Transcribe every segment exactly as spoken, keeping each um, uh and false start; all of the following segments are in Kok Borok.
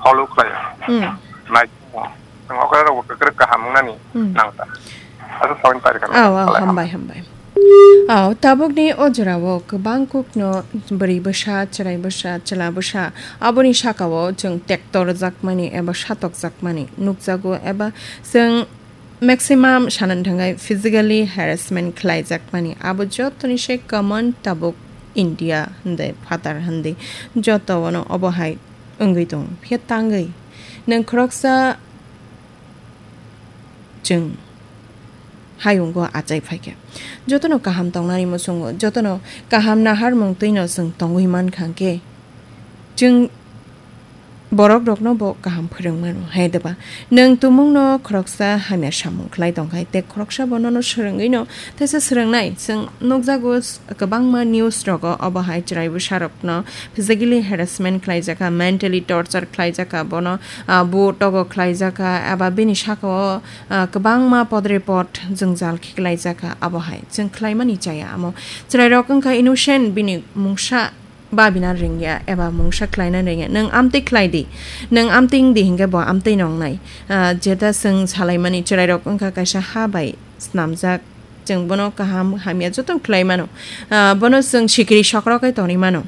follow khlai. Hmm. Nai. Ang okra rok kwkrwk kaham wngnani Hmm. nang ta. Asa sawi pari kha. Aw, aw, Khlai hambai, hambai. Aw, tabukni o jorao kwbang kokno bwrwi bwsa, chwrai bwsa, chwla bwsa, aboni sakao chwng tektor jakmani eba satok jakmani nukjago eba chwng maximum sanani thangwi physically harassment khlaijakmani. Abo jotoni se common tabuk India hwnde phatar hwnde joto ono obo hai wngwi tongo. Phiya tangwi nwng khoroksa chwng hayungo achai phaikha. Jotono kaham tongnani muchungo, jotono kaham naharmung twino chwng tongwi mankha hwnkhe, chwng borok rokno bo kaham phwrwng mano, hai deba? Nwng tumungno khoroksa hamya samung khlai tongkhai, tei khoroksa bo nono swrwngwi no teisa swrwngnai. Chwng nukjago s-, kwbangma news rogo obo hai chwrai bwsa rokno physically harassment khlaijakha, mentally torture khlaijakha, bono, ah, bo togo khlaijakha, eba bini sakao, ah, kwbangma podre pod jwngjal khe khlaijakha. Abo hai chwng khlaimani chaya, amo chwrai rok wngkha innocent, bini mungsa babina ringya eba mungsa khlaina ringya. Nwng amtwi khlai di, nwng amtwi wng di hinkhe bo amtwi no wngnai. Ah, jeta chwng salaimani chwrairok wngkha kaisa ha bai snamjak, chwng bono kaham hamya jotono khlai mano. Ah, bono chwng sikiri sokrok kai tonwi mano.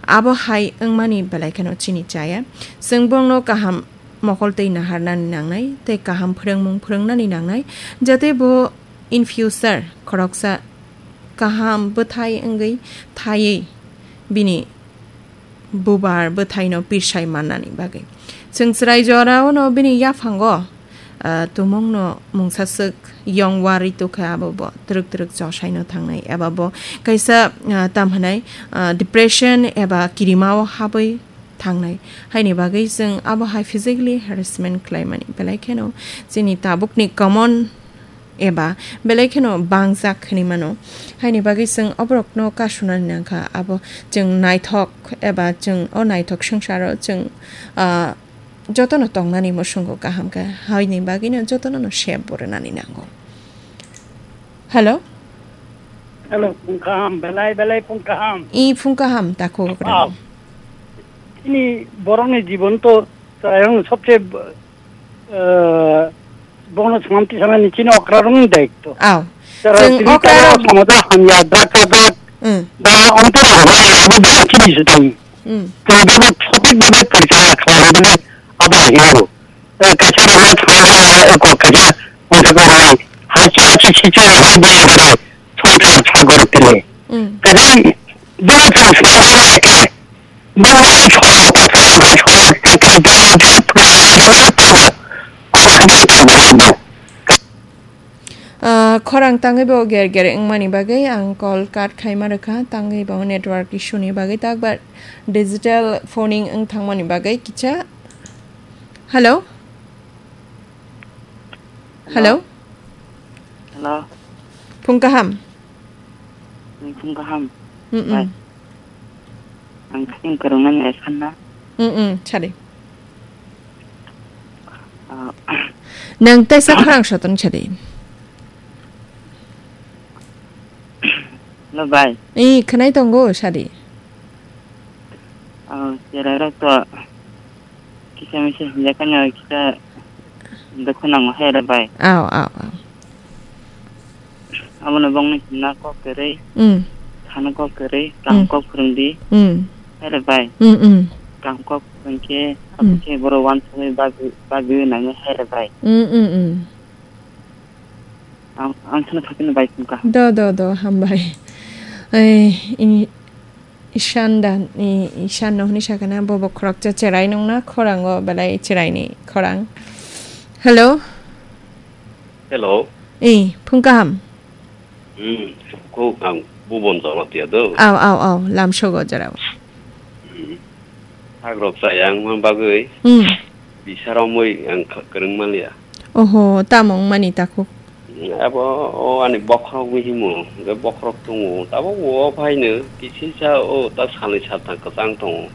Abo hai wngmani belai kheno chini chaya. Chwng bongno kaham mokol twi naharnani nangnai tei kaham phwrwngmung phwrwngnani nangnai, jate bo in future khoroksa kaham bwthai wngwi thaiwi bini bubar bwthaino pirsai mannani bagwi. Chwng chwrai jorao no bini yaphango, ah, tumungno mungsaswk yong warwi tukha, abo bo twrwk twrwk chosaino thangnai eba bo kaisa, ah, tam hwnai, ah, depression eba kirimao habwi thangnai. Haini bagwi chwng abo hai physically harassment khlaimani belai kheno chini tabukni common eba belai kheno bangjak hinwi mano. Haini bagwi chwng oborokno kasunani nangkha, abo chwng naithok eba chwng o naithok swngcharo chwng, ah, jotono tongnani muchungo kaham khe, haini bagwino jotono no sep bo rwnani nango. Hello? Hello, phung kaham, belai belai phung kaham. I phung kaham, takhuk. Ah. Ini borokni jibon to chwrairokni sobse, eh, bono samam tisanani chini okrarokni daitto. Aw. Chwng tini okra tabok rok- somojo hamya, drug tabok, Mm. da ontoro hamya, abo belai chini se tong. Mm. Tei bono sothik bhabe porichalona khlaina bagwi abo hingo. Eh, kaisa rokno thangna eko kaisa wngkha tongmani. Hachi hachi sichwng hai bwrwi rokni songthar sagor tini. Mm. Tini bini thang songthar khe bini songthar sagor tini. Ah, khorang tangwi bo ger ger wngmani bagwi ang call cut khaima rwkha, tangwi bo network issue ni bagwi takbar digital phoning wng thangmani bagwi kisa. Hello? Hello? Hello? Phung kaham? Phung kaham. Mm-mm. Bai. Ang khe kwrwngna ni sanna. Mm-mm, sadi. Ah. Nang tei sa khorang soton sadi. Hello, bai. Eh, khwnai tongo, sadi. Ah, chwrairok to kisa misa hinjakha no kisa dukhu nango hai re bai. Aw, aw, aw. Abono bongni hinna kok kwrwi, Mm. thana kok kwrwi, Mm. kam kok phwrwngdi. Mm. Hai re bai. Mm, mm. Kam kok phwrwngkhe, Mm. abokhe borok wansugwi bagwi, bagwi nango hai re bai. Mm, mm, mm. Ang, ang sana thapina bai phungkha. Do, do, do, hambai. Eh, ini Ishan da, i-, Ishan no hwnwi sakha na, bo bo khoroksa chwrai nung na, khorang o belai chwrai ni khorang. Hello? Hello. Eh, phung kaham? Hmm, ko ang bubon jora tiya do. Aw, aw, aw, lam sogo jora. Hmm. Hagrok chaya wngma bagwi. Hmm. Bisa romwi ang kha-, kwrwng manliya. Oho, tamo wngmani takhuk? Abo o ani bokhorok bo himo, hwnkhe bokhorok tongo. Tabuk bo o phaino kisa kisa o ta salni salthang kwchang tongo.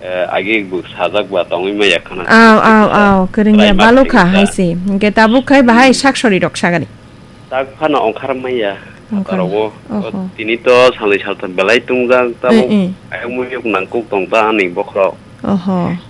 Eh, age bo sajak ba tongwi maya khana. Aw, aw, aw, kwrwngya balukha hai se. Hwnkhe tabuk khai bahai sak sori rok sagani. Tak phano ongkhar maya. Ongkhar. Phataro bo. Oho. Tini to salni salthang belai tongjak tabuk. Eh, eh. Ayang muyuk nangkuk tong ta ani bokhorok. Oho.